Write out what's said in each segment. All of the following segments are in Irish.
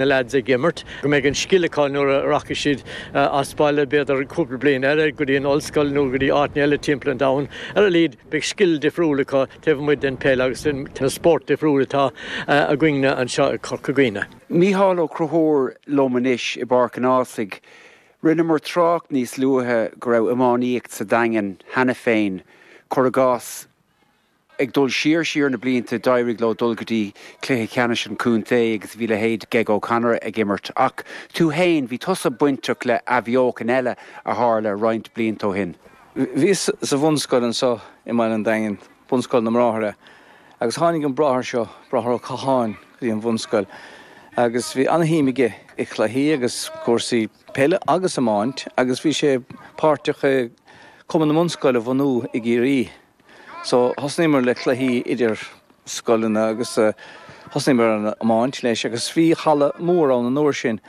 Na leaids ag imirt, go mbeidh an scil acu nuair a rachaidh siad as baile, b'fhéidir cúpla bliain eile, go dtí an ollscoil nó go dtí áiteanna eile timpeall an domhain. Ar a laghad, beidh scil difriúil acu taobh amuigh den peil agus den na spóirt difriúil atá againne anseo i Corca Dhuibhne. Mícheál Ó Conchúir liom anois i bPáirc an Ághasaigh. Rinneamar trácht níos luaithe go raibh iománaíocht sa Daingean cheana féin, cuir i gcás, Ag dul siar siar na blianta d'éirigh leo dul go dtí cluiche ceannais an chontae agus bhí leithéid Geg O'Connor ag imirt. Ach tú fhéin, bhí tusa bainteach le athbheochan eile a tharla roinnt blianta ó shin. Bhíos sa bhunscoil anseo i mbaile an Daingin, Bunscoil na mBráithre, agus tháinig an bráthair seo, Bráthair Ó Catháin, go dtí an bhunscoil agus bhí ana-shuim aige i chluichí agus cúrsaí peile agus iomáint agus bhí sé páirteach i Cumann na mBunscoil a bhunú i gCiarraí. So, thosnaíomar le cluichí idir scoileanna agus thosnaíomar ar an iomáint leis agus bhí halla mór ann an uair sin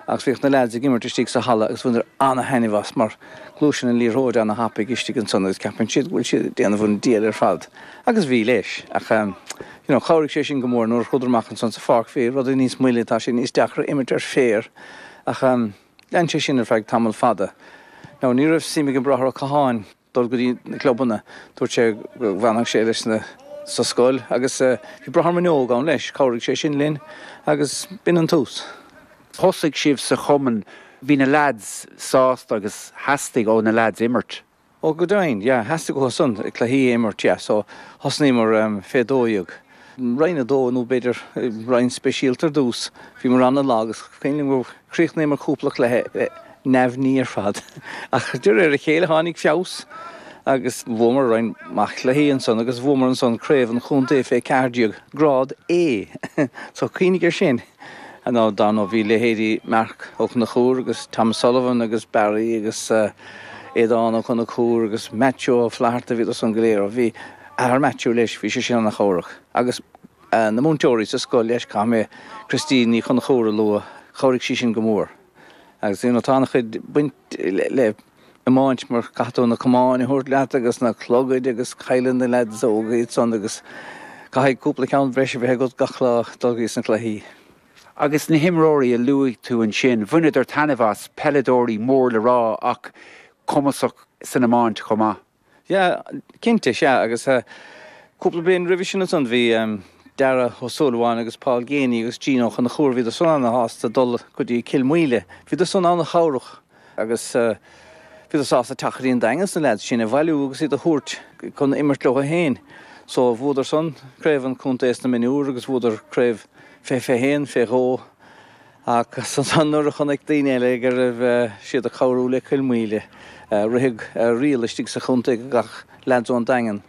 agus bhíodh na leaids ag imirt istigh sa halla agus bhaineadar ana-thaitneamh as mar gluaiseann an liathróid ana-thapaidh istigh ansan agus ceapann siad go bhfuil siad ag déanamh an diabhal ar fad agus bhí leis ach you know chabhraigh sé sin go mór nuair a chuadar amach ansan sa pháirc bhí rudaí níos moille tá sé níos deacra imirt ar féar ach lean sé sin ar feadh tamall fada. Now ní raibh suim ag an Bráthair Ó Catháin dul go dtí na clubanna. Dúirt sé go bhfanfadh sé leis na sa scoil agus bhí Bráthair Minogue ann leis, chabhraigh sé sin linn agus b'in an tús. Thosaigh sibh sa chumann, bhí na leaids sásta agus theastaigh ó na leaids imirt. Ó go deimhin, yeah, theastaigh uathu san cluichí a imirt, yeah, so thosnaíomar fé 12, Roinn 2 nó b'fhéidir roinn speisialta ar dtús. Bhíomar an-lag is cuimhin liom gur chríochnaíomar cúpla cluiche neamhní ar fad. Ach de réir a chéile tháinig feabhas agus bhuamar roinnt mhaith cluichí ansan agus bhuamar ansan craobh an chontae fé 14, grád A! So cuimhnigh ar sin! Nó dar ndóigh bhí leithéidí Marc Ó Conchúir agus Tom Sullivan agus Barry agus Aodán Ó Conchúir agus Maitiú Ó Flatharta, bhíodar san go léir. Bhí athair Maitiú leis, bhí sé sin ana-chabhrach. Agus na múinteoirí sa scoil leis, caithfidh mé Christine Ní Chonchúir a lua, chabhraigh sí sin go mór. Agus you know tá an-chuid baint le iomáint mar caithfidh tú na camáin a thabhairt leat agus na clogaid agus cailleann na leaids óga iad san agus caithfidh cúpla ceann breise a bheith agat gach lá dul go dtí na cluichí. Agus na himreoirí a luaigh tú ansin, bhaineadar taitneamh as, peileadóirí mór le rá ach cumasach san iomáint chomh maith. Yeah, cinnte, sea, agus cúpla bliain roimhe sin ansan bhí Dara Ó Súilleabháin agus Paul Geaney agus Gene Ó Conchúir, bhíodar san ana-shásta dul go dtí Cill Mhaoile, bhíodar san ana-chabhrach agus bhíodar sásta teacht go dtí an Daingean is na leaids sin a bhailiú agus iad a thabhairt chun imirt leo féin. So bhuadar san craobh an chontae sna mionúir agus bhuadar craobh fé 21, fé dhó. Ach ansan nuair a chonaic daoine eile go raibh siad ag cabhrú le Cill Mhaoile, ritheadh riail istigh sa chontae go gcaithfeadh leaids ón Daingean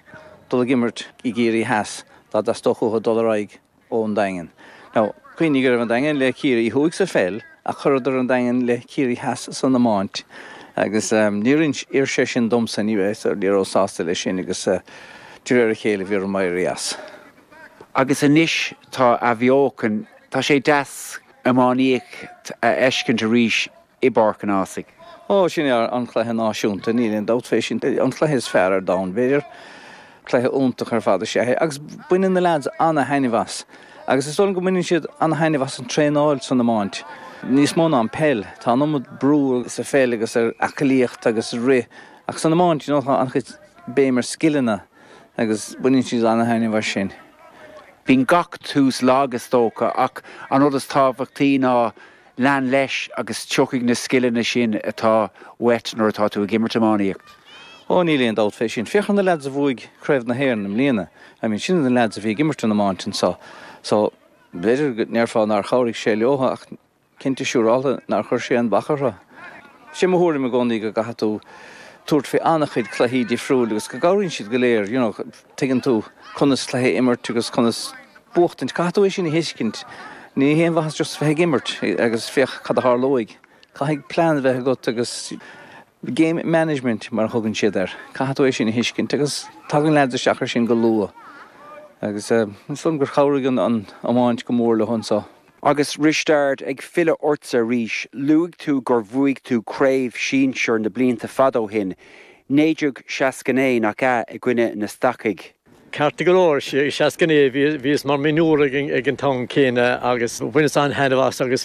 dul ag imirt i gCiarraí Theas dá dteastódh uathu dul ar aghaidh ón Daingean. Now, cuimhnigh go raibh an Daingean le Ciarraí Thuaidh sa pheil ach chuireadar an Daingean le Ciarraí Theas san iomáint agus níor oir sé sin domsa, ní rabhas sásta leis sin agus de réir a chéile bhí orm éirí as. Agus anois tá athbheochan, tá sé deas iománaíocht a fheiscint arís i bPáirc an Ághasaigh. Ó, sin é an cluiche náisiúnta, níl aon dabht fé sin. An cluiche is fearr ar domhan, b'fhéidir. Cluiche iontach ar fad is ea é agus baineann na leaids ana-thaitneamh as. Agus is dóigh liom go mbaineann siad ana-thaitneamh as an traenáil san iomáint, níos mó ná an peil. Tá an iomad brú sa pheil agus ar aclaíocht agus rith ach san iomáint, you know, tá an-chuid béim ar scileanna. agus baineann siad ana-thaitneamh as sin. Bíonn gach tús lag is dócha ach an rud is tábhachtaí ná lean leis agus tiocfaidh na scileanna sin atá uait nuair atá tú ag imirt iománaíocht. Ó níl aon dabht fé sin. Féach ar na leaids a bhuaigh Craobh na hÉireann i mbliana. I mean sin na leaids a bhí ag imirt an iomáint anseo. So b'fhéidir go ndéarfá nár chabhraigh sé leo ach Cinnte siúrálta nár chuir sé aon bhac orthu. Sé mo thuairim i gcónaí go gcaithfidh tú tabhairt faoi an-chuid cluichí difriúil agus go gcabhraíonn siad go léir, you know, tuigeann tú conas cluiche a imirt agus conas buachtaint, caithfidh tú é sin a thuiscint. Ní haon mhaitheas just bheith ag imirt agus féach cad a tharlóidh. Caithfidh plean a bheith agat agus game management mar a thugann siad air. Caithfidh tú é sin a thuiscint agus tagann leaids isteach ar sin go luath agus is dóigh liom gur chabhraigh an iomáint go mór leo anseo. Agus Risteard, ag filleadh ortsa arís, luaigh tú gur bhuaigh tú craobh sinsir na blianta fada ó shin, 1969, nach ea, i gcoinne na Stacaigh? Ceart go leor, 69, bhíos mar mhionúr ag an t-am céanna agus bhaineas an-thaitneamh as agus.